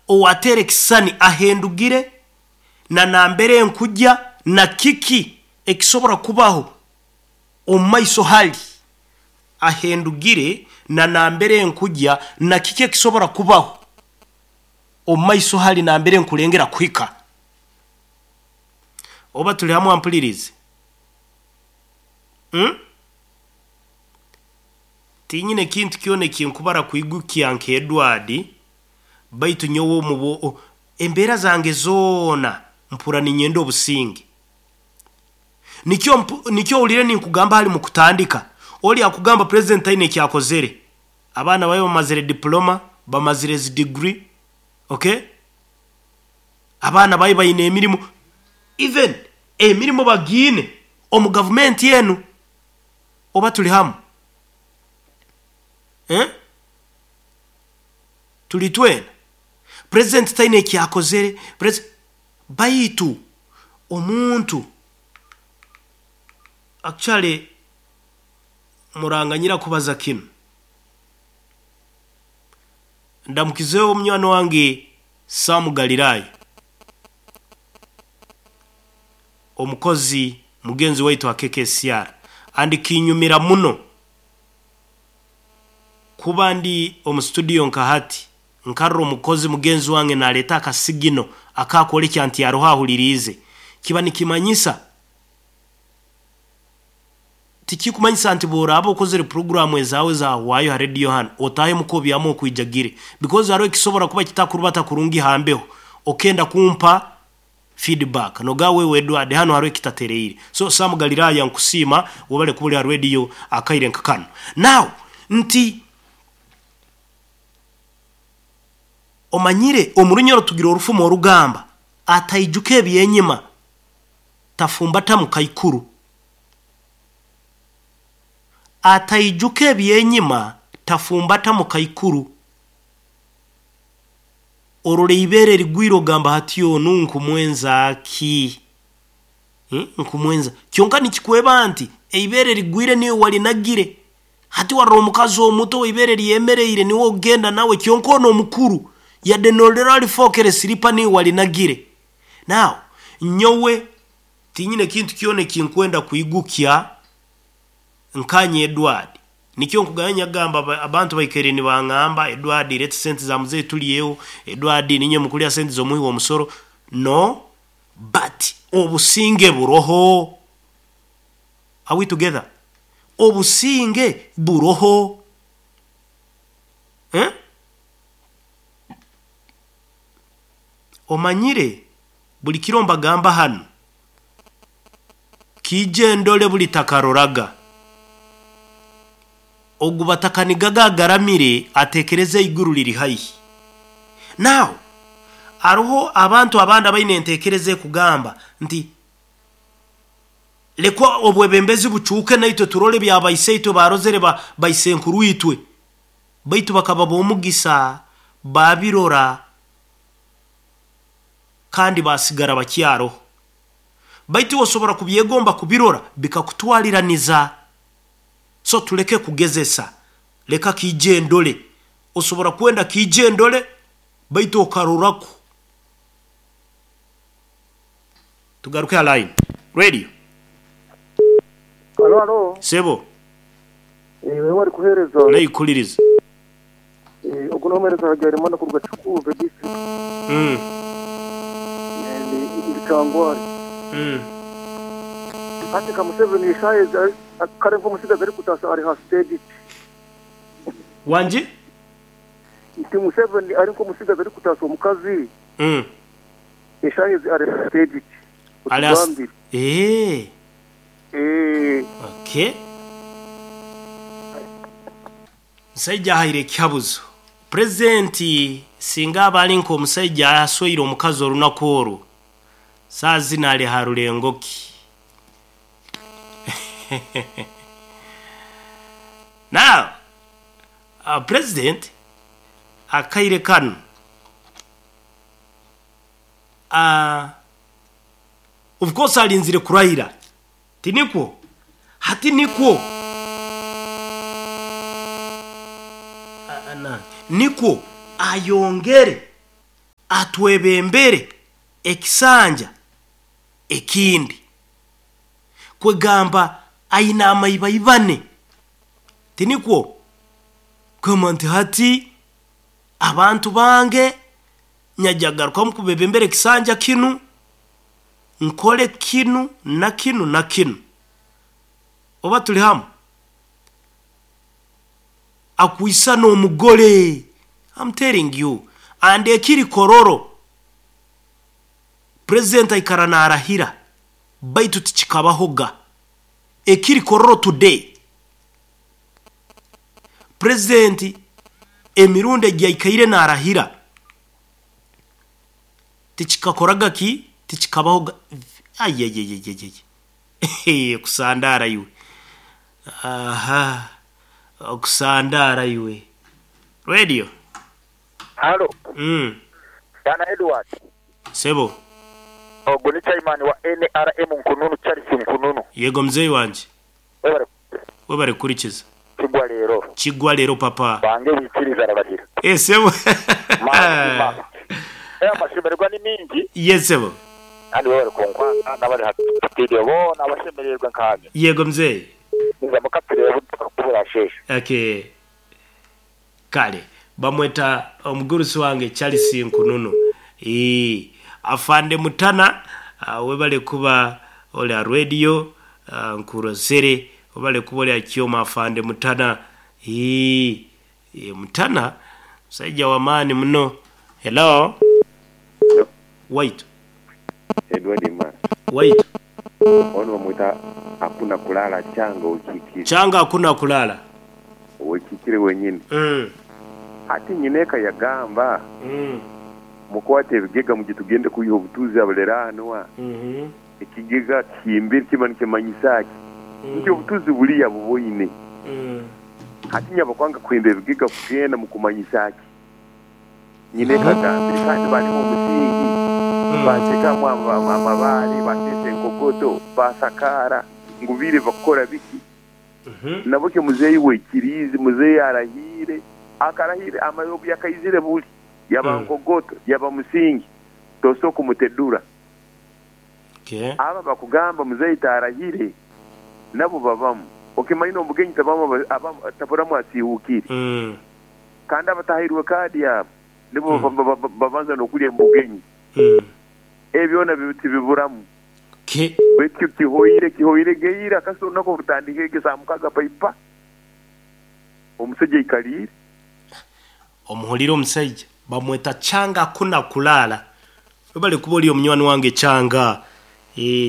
Owateera ekisisani ahendugire na nambere nkujya na kiki ekisobora kubaho omu maiso hali. Ahendugire na nambere nkujya na kiki ekisobora kubaho omu maiso hali nambere nkulengera kuhika. Oba tuli hamu ampulirize? Tinyine ekintu kyona ekinkubara kwigukya nka Edward, baitu nyowe omu embeera zange zoona mpura ninyenda obusinge. Nikyo owulire ninkugamba hali mukutandika. Oli akugamba president taine ekyakozere. Abaana bawe bamazire diploma, bamazire zi degree, okay? Abaana bawe baine emirimu, even emirimu bagiine omu gavumenti enu. Oba tuli hamu? Tuli twena. President taine ekyakozere. Baitu omuntu actually muranganyira kubaza kinu. Ndamukizeho omunywani wange Sam Galilaya, omukozi mugenzi waitu ha KKCR, andi kinyumira muno kuba ndi omu studio nka hati nkarora omukozi mugenzi wange naleeta akasigino akakwolekya nti aroho ahuliriize. Kiba nikimanyisa, tikikumanyisa nti bw'oraaba okozere puroguramu ezaawe zahwayo ha radio hanu otahemu kobyamu okwijagire, because hariho ekisobora kuba kitakurubata kurungi hambeho okenda kumpa feedback noga wewe Edward hano hariho ekitatereire. So Sam Galilaya nkusiima webale kuba ori ha radio akaire nka kanu. Now nti omanyire omu Runyoro tugira orufumo orugamba ataijuka ebyenyima tafumbata mukaikuru. Ataijuka ebyenyima tafumbata mukaikuru. Orora ibere rigwire ogamba hati onu nkumwenza ki? Nkumwenza. Kyonka nikikweba nti eibere rigwire niwe walinagire. Hati warora omukazi omuto ibere lyemereire niwe ogenda nawe, kyonka ono omukuru yadde norora alifokere siripa niwe walinagire. Now nyowe tinyine ekintu kyona ekinkwenda kwigukya nkanye Edward. Nikyo nkuganya gamba abantu baikaire nibangamba Edward leta sente za mzee tulyeho, Edward ninye mukulya sente z'omuhi w'omusoro. No, but obusinge buroho. Are we together? Obusinge buroho. Omanyire buli kiro mbagamba hanu kiije ndole buli takaroraga. Ogu batakanigaga agaramire atekereza iguru liri haihi. Now aroho abantu abandi abaine entekereza ekugamba nti lekwa obwebembezi bucuuke naitwe turole bya baiseitwe barozere baisenkuru itwe, baitu bakaba b'omugisa babirora kandi basigara bakyaroho. Baitu osobora kubyegomba kubirora bikakutwaliraniza. So tuleke kugezesa, leka kiije ndole. Osobora kwenda kiije ndole baitu okarorako. Tugaruke ha line. Radio. Halo, halo. Sebo. Wewe wari kuhereza. Naikuliriza. Ogu n'omuhereza Habyarimana kuruga Kikuube district. Ndi Kyangwali. Hati ka Museveni eshaaha kare nk'omusigazi arikutaasa ari ha stage ki? Wangi? Nti Museveni ari nk'omusigazi arikutaasa omukazi. Eshaaha ezi ari ha stage ki? Otugambire. Okay. Musaija ahaire ekihabuzo. Purezidenti singa aba ari nk'omusaija asweire omukazi orunaku oru, saaha zinu ari ha rurengo ki? Now, President akaire kanu of course arinzire kurahira, tinikwo? Hati nikwo nikwo ayongere. Atwebembere ekisanja ekindi. Kwegamba aina amaibaibane. Tinikwo? Kugamba nti hati abantu bange nyajagarukamu kubebembera ekisanja kinu, nkole kinu na kinu na kinu. Oba tuli hamu? Akwisana omugole. I'm telling you. And ekiri kororo, president aikara narahira, baitu tichikabahoga. Ekiri kororo today, president emirundi egyaikaire narahira, tichikakoraga ki? Tichikabahoga. Ayayayayay, kusandara iwe. Aha, okusandara iwe. Radio. Halo. Bwana Edward. Sebo. Ogwo ni chairman wa NRM Nkununu Charles Nkununu. Yego mzei wanje. Webale. Webale kurikiza. Kigwa leero. Kigwa leero papa. Bange wikiriza arabahira. Eh sebo. Mazima. Amashemererwa ni mingi. Yes sebo. Kandi webale kunkwata n'abari ha studio boona abashemererwa nkanye. Yego mzei. Niza mukatire kubura sheshe. Okay. Kale bamweta omugurusi wange Charles Nkununu. Afande Mutana, webale kuba ole radio, nkurozere, webale kuba ole akioma afande Mutana. Mutana musajja wa maani muno. Hello. Hello. Wait. Edward Imara. Wait. Ono bamwita hakuna kulala changa ukikire. Changa hakuna kulala. Ukikire wenyini. Ati nyineka yagamba. Mukwate ebigega mugitugende kuyiha obutuuzi abuleranwa. Ekigega kimbiri kiba nikimanyisa ki? Nti obutuuzi buliya buboine. Ati nyabakwanga kuhimba ebigega kugenda mukumanyisa ki? Nyineka agambire kandi barimu omusingi. Batekamu amabaare, bateesa enkogoto, basakaara ngu biire bakukora biki? Nabwo muzeeyi wekiriizi, muzeeyi arahire, akarahire amayobu yakaizire buli. Yaba nkogoto, yaba musingi, tosobola kumutedura. Okay. Aba bakugamba muzeeyi tarahire, nabo babamu. Okimanyi omugenyi tabamu taburamu asiihukire. Kandi abatahirwe kaadi yabo nibo babanza n'okurya omugenyi. Ebyona tibiburamu. Okay. Baitu kihoire geira kasita olunaku orutandika ege saa 6 paipa. Omusajja aikaliire. Omuhulire omusajja bamweta Changa hakuna kulala. Webale kuba oli omunywani wange Changa.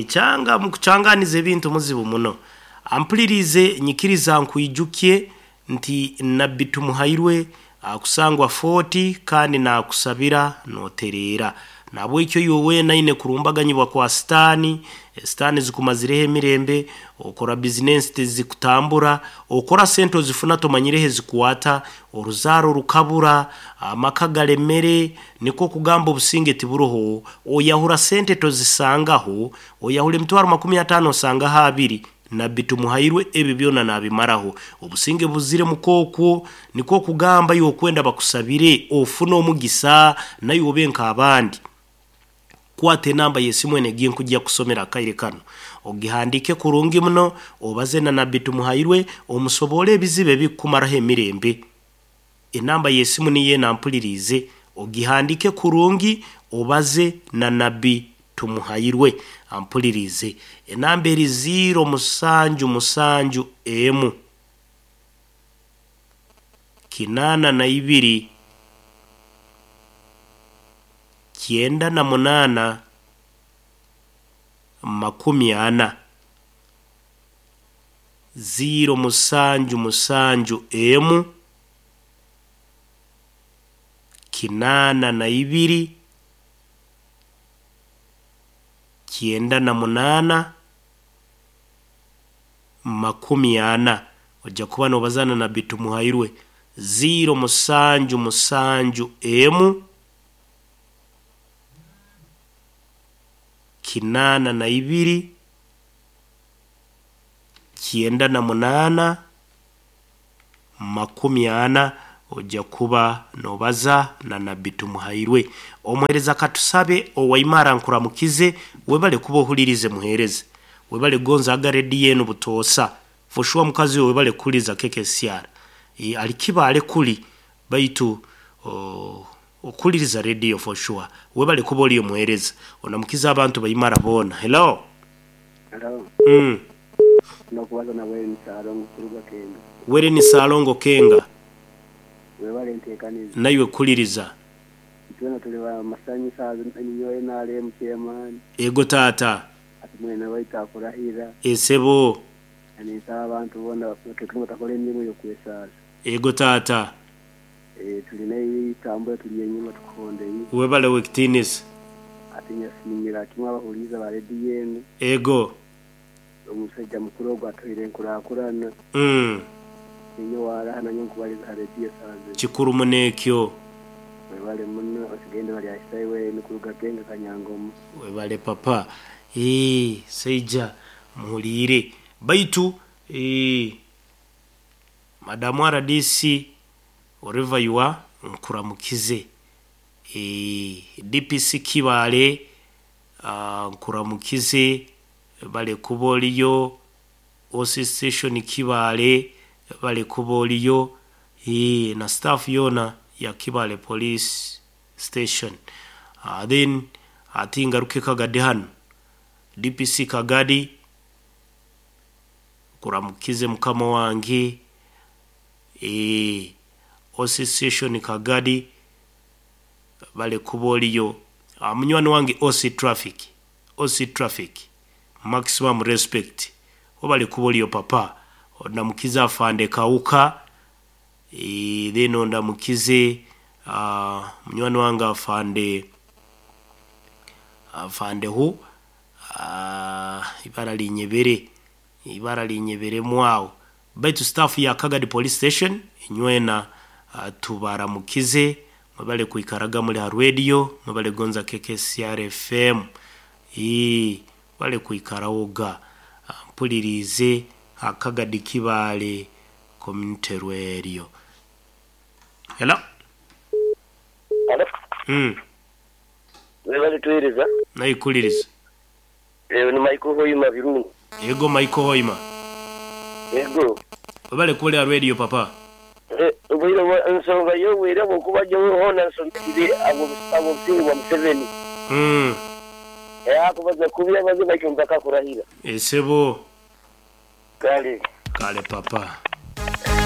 Changa mukuchanganiza ebintu muzibu muno. Ampulirize nyikiriza nkwijukye nti Nabbi Tumuhairwe akusangwa 40 kandi nakusabira noterera. Nabwekyo yowe naine kurumbaganyibwa kwa sitani, sitani zikumazireho emirembe, okora business tizikutambura, okora sente ozifuna tomanyireho zikuwata, oruzaaro rukabura, amaka galemere, niko kugamba obusinge tiburoho, oyahura sente tozisangaho, oyahura emitwaro 50 osangaho 2. Nabbi Tumuhairwe ebi byona nabimaraho. Obusinge buzire mukokwo, niko kugamba yokwenda bakusabire ofuna omugisa nayo obe nk'abandi. Kwate namba yesimu ene giye nkujja kusomera akaire kano. Ogihandike kurungi muno, obaze na Nabbi Tumuhairwe, omusobole ebizibu ebikumaraho emirembe. Enamba yesimu niye nampulirize, ogihandike kurungi, obaze na Nabbi Tumuhairwe ampulirize. Enamba eri 077 M 82 98 40 077 M 82 98 40. Ojja kuba nobazana na Nabbi Tumuhairwe. 077 M 82 98 40. Ojja kuba nobaza na Nabbi Tumuhairwe. Omuhereza katusabe owaimara nkuramukize, webale kuba ohulirize muhereze. Webale gonza aga rediyo enu butoosa. For sure mukazi we webale kuhuliza KKCR. Alikiba kuli baitu okuliriza rediyo for sure. Webale kuba oli omuhereza. Onamukiza abantu baimara boona. Hello. Hello. Nokubaza na Wereni Salongo kuruga Kenga. Wereni Salongo Kenga. Webale ntekaniza. Naiwe kuliriza. Itwena tuli ba masanyu sazi ninyowe NRM chairman. Ego tata. Ati mwena baita akurahira. Esebo. Ninsaba abantu boona batakora emirimu y'okwesaasa. Ego tata. Tulina eitambura tuli enyuma tukuhondeye. Webale wekitinisa. Ati nyasimira kimwe abahuliza ba rediyo enu. Ego. Omusajja mukuru ogwo atuhaire enkurakurana. Ninyo waraha nanyo nkubaliza ha rediyo saazi. Kikuru munekyo. Webale muno osigende bali ahisaiwe nikuruga Kenga Kanyangomo. Webale papa. Seija muhulire. Baitu Madamu RDC wherever you are nkuramukize. DPC Kibale nkuramukize, bale kuba oliyo. OC station Kibale bale kuba oliyo. Na staff yona ya Kibale police station. Then ati ngaruke Kagadi hano. DPC Kagadi kuramukize mukama wange. OC station Kagadi bale kuba oliyo. Munywani wange OC traffic. OC traffic maximum respect. Obale kuba oliyo papa. Ondamukize afande Kauka. Then ondamukize munywani wange afande hu ibara linyebere. Ibara linyebere mwawo. Baitu staff ya Kagadi police station inywena tubaramukize, mwebale kuikaraga muri ha radio, mwebale gonza KKCR FM. Bale kuikarawoga mpulirize Akagadi Kibale community radio. Hello. Hello. Webale tuhereza. Naikuliriza. Ni Michael Hoima Birungu. Ego Michael Hoima. Ego. Webale kule radio papa. Ubwire nsonga yo wera bwokuba jo hona nsonga ibe abo abo wa Museveni. Akubaza kubira baze bacyumva kakurahira. Esebo. Kale. Kale papa.